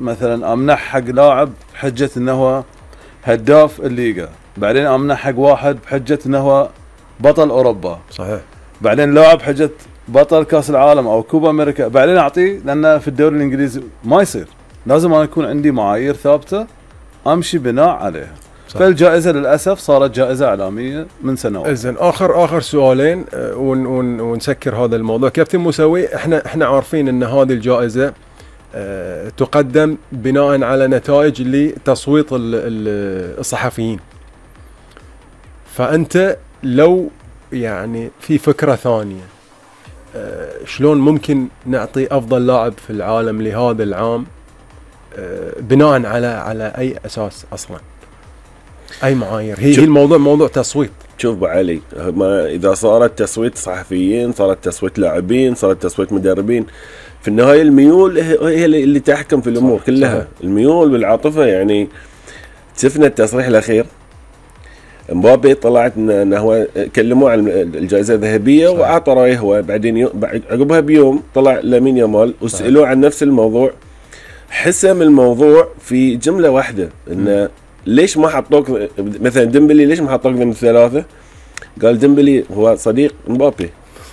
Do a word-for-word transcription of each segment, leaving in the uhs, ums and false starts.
مثلا امنح حق لاعب بحجه انه هو هداف الليغا، بعدين امنح حق واحد بحجه انه هو بطل اوروبا، صحيح، بعدين لاعب بحجه بطل كاس العالم او كوبا امريكا، بعدين اعطيه، لان في الدوري الانجليزي ما يصير، لازم انا يكون عندي معايير ثابته امشي بناء عليها. صح. فالجائزه للاسف صارت جائزه اعلاميه من سنوات. زين، اخر اخر سؤالين ون ون ونسكر هذا الموضوع. كابتن موسوي، احنا احنا عارفين ان هذه الجائزه أه تقدم بناء على نتائج لتصويت الصحفيين، فانت لو يعني في فكره ثانيه أه شلون ممكن نعطي افضل لاعب في العالم لهذا العام أه بناء على على اي اساس اصلا؟ اي معايير؟ هي, هي الموضوع موضوع تصويت. شوف ابو علي، ما اذا صارت تصويت صحفيين، صارت تصويت لاعبين، صارت تصويت مدربين، في النهايه الميول هي اللي تحكم في الامور كلها. صحيح. الميول والعاطفه. يعني شفنا التصريح الاخير، مبابي طلعت انه هو كلموه عن الجائزه الذهبيه واعطى رايه هو، بعدين عقبها بيوم طلع لامين يامال وسالوه عن نفس الموضوع، حسم الموضوع في جمله واحده، انه ليش ما حطوك مثلا ديمبلي، ليش ما حطوك ضمن الثلاثه؟ قال ديمبلي هو صديق مبابي.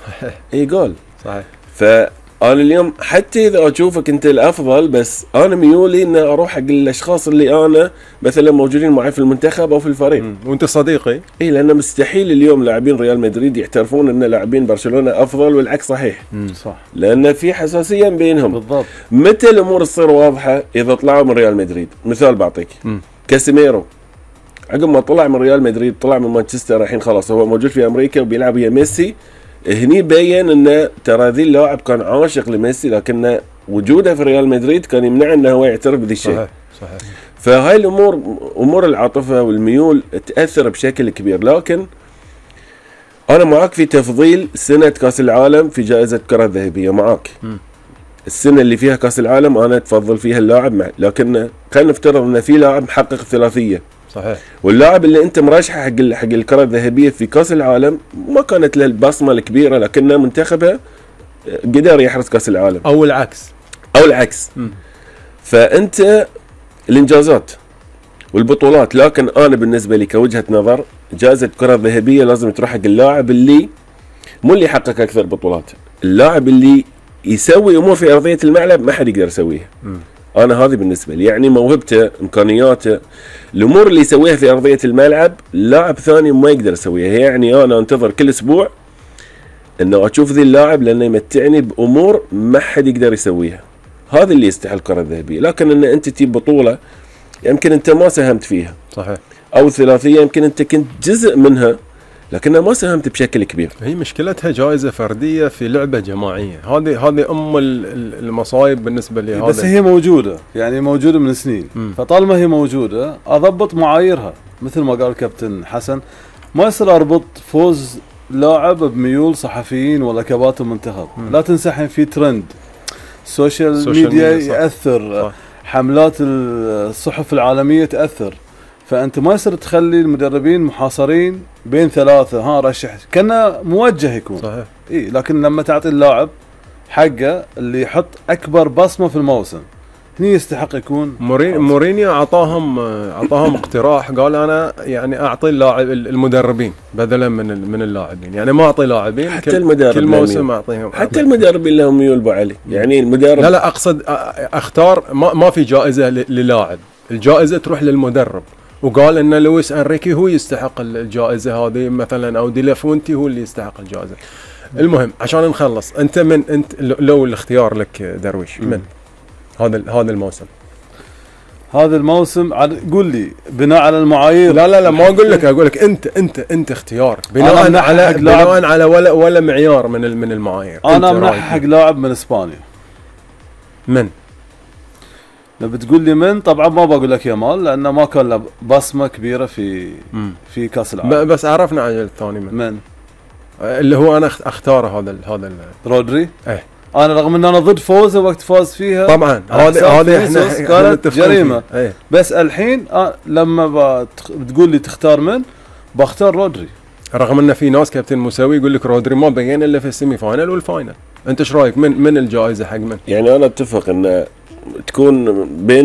صحيح. اي جول. صحيح. فانا اليوم حتى اذا اشوفك انت الافضل، بس انا ميولي ان اروح حق الاشخاص اللي انا مثلا موجودين معي في المنتخب او في الفريق. مم. وانت صديقي. اي، لانه مستحيل اليوم لاعبين ريال مدريد يعترفون ان لاعبين برشلونه افضل، والعكس صحيح. مم. صح. لان في حساسيه بينهم. بالضبط. متى الامور تصير واضحه؟ اذا طلعوا من ريال مدريد. مثال بعطيك، مم. كاسيميرو عقب ما طلع من ريال مدريد، طلع من مانشستر، الحين خلاص هو موجود في امريكا وبيلعب ويا ميسي. هني بين انه ترى ذي اللاعب كان عاشق لميسي، لكن وجوده في ريال مدريد كان يمنع انه هو يعترف بذي الشيء. صحيح. صحيح. فهاي الامور، امور العاطفه والميول تاثر بشكل كبير. لكن انا معك في تفضيل سنه كاس العالم في جائزه الكره الذهبيه، معك. م. السنه اللي فيها كاس العالم انا اتفضل فيها اللاعب، مع لكن خلينا نفترض ان في لاعب محقق ثلاثيه. صحيح. واللاعب اللي انت مرشحه حق حق الكره الذهبيه في كاس العالم ما كانت له البصمه الكبيره، لكن منتخبه قدر يحرز كاس العالم، او العكس او العكس م. فانت الانجازات والبطولات. لكن انا بالنسبه لي كوجهه نظر، جائزه الكره الذهبيه لازم تروح حق اللاعب اللي مو اللي يحقق اكثر بطولات، اللاعب اللي يسوي امور في ارضيه الملعب ما حد يقدر يسويها. م. انا هذه بالنسبه لي، يعني موهبته، امكانياته، الامور اللي يسويها في ارضيه الملعب لاعب ثاني ما يقدر يسويها. يعني انا انتظر كل اسبوع انه اشوف ذي اللاعب، لانه يمتعني بامور ما حد يقدر يسويها. هذا اللي يستحق الكره الذهبيه. لكن ان انت تجيب بطوله يمكن انت ما ساهمت فيها، صحيح، او ثلاثيه يمكن انت كنت جزء منها لكنها ما ساهمت بشكل كبير. هي مشكلتها جائزة فردية في لعبة جماعية، هذه هذه أم المصايب بالنسبة لي. بس هي موجودة، يعني موجودة من سنين. م. فطالما هي موجودة أضبط معاييرها، مثل ما قال كابتن حسن، ما يصير أربط فوز لاعب بميول صحفيين ولا كباتن منتخب. م. لا تنسحن في ترند السوشيال ميديا يأثر. صح. حملات الصحف العالمية تأثر. فأنت ما يصير تخلي المدربين محاصرين بين ثلاثة، ها رشح كأنه موجه يكون. صحيح. إيه، لكن لما تعطي اللاعب حقه اللي يحط أكبر بصمة في الموسم، هني يستحق يكون. مورين مورينيو أعطاهم أعطاهم اقتراح، قال أنا يعني أعطي اللاعب المدربين بدلا من من اللاعبين، يعني ما أعطي لاعبين، حتى كل المدرب كل موسم أعطيهم، حتى المدربين لهم ميول أبو علي. يعني المدرب، لا لا أقصد أختار، ما ما في جائزة للاعب، الجائزة تروح للمدرب. وقال ان لويس انريكي هو يستحق الجائزه هذه مثلا، او دي لافونتي هو اللي يستحق الجائزه. المهم عشان نخلص، انت من انت لو الاختيار لك درويش، من هذا هذا الموسم هذا الموسم قول لي بناء على المعايير. لا لا لا ما اقول لك، اقول لك انت انت انت اختيار بناء على بناء على ولا ولا معيار من من المعايير. انا منحق لاعب من اسبانيا. من لو بتقول لي من، طبعا ما بقول لك يامال لانه ما كان له بصمه كبيره في مم. في كاس العالم. بس عرفنا عن الثاني من من اللي هو انا اختاره هذا هذا رودري. ايه، انا رغم ان انا ضد فوزه وقت فاز فيها طبعا، هذا هذا احنا كانت جريمه. ايه. بس الحين آه لما بتقول لي تختار من، بختار رودري، رغم ان في ناس كابتن موسوي يقول لك رودري ما بين الا في السيمي فاينل والفاينل. انت ايش رايك من من الجائزه حق من؟ يعني انا اتفق ان تكون بين